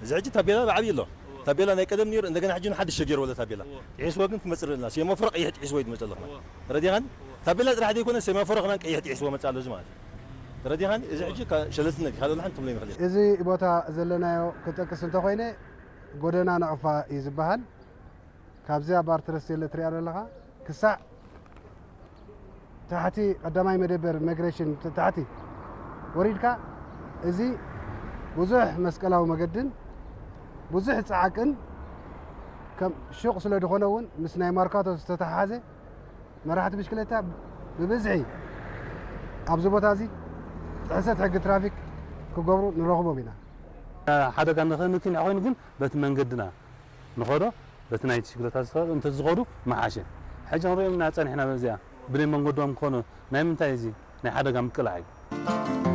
እዚ ሕጂ ታቤላ ብዓብዪ ኣሎ። ታቤላ ናይ ቀደም ነይሩ፣ እንደገና ሕጂ ሓድሽ ተገይሩ ወለ ታቤላ። ጥሒስዎ ግን ክመጽእ ኣለና። ሴማፎሮ ቀይሕ ጥሒስዎ እዩ ዝመጽእ ኣለኹ። ተረዲኻኒ? ታቤላ ጥራሕ ዘይኮነ ሴማፎሮ ከማን ቀይሕ ጥሒስዎ መጽእ ኣሎ እዚ ማለት እዩ። ተረዲኻኒ? እዚ ሕጂ ካ-፣ ሸለልትነት እዩ። ካልእ ሓንቲ ትብሎ ይኽእል። እዚ ቦታ ዘለናዮ ክጠቅስ እንተኾይነ ጎደና ናቕፋ እዩ ዝበሃል። ካብዚኣ ባር ትረስቴለ ትሪኣ ዘለኻ ክሳዕ ታሕቲ ቀዳማይ መደበር ኢሚግሬሽን ት-፣ ታሕቲ ወሪድካ፣ እዚ ብዙሕ መስቀላዊ መገድን ብዙሕ ጸዓቅን ከም ሹቕ ስለ ዝኾነ እውን ምስ ናይ ማርካቶ ዝተተሓሓዘ መራሕቲ ብሽክለታ ብብዝሒ ኣብዚ ቦታ እዚ ጥሕሰት ሕጊ ትራፊክ ክገብሩ ንረኽቦም ኢና። ሓደጋ ንኸንክን ኮይኑ ግን በቲ መንገድና ንኸዶ በቲ ናይ ብሽክለታ ዝኸ-፣ እንተ ዝኸዱ መሓሸ። ሕጂ ንሪኦም ኢና ጸኒሕና በዚኣ ብናይ መንገዶም ክኾኑ ናይ ምንታይ እዚ ናይ ሓደጋ ምቅላዕ እዩ።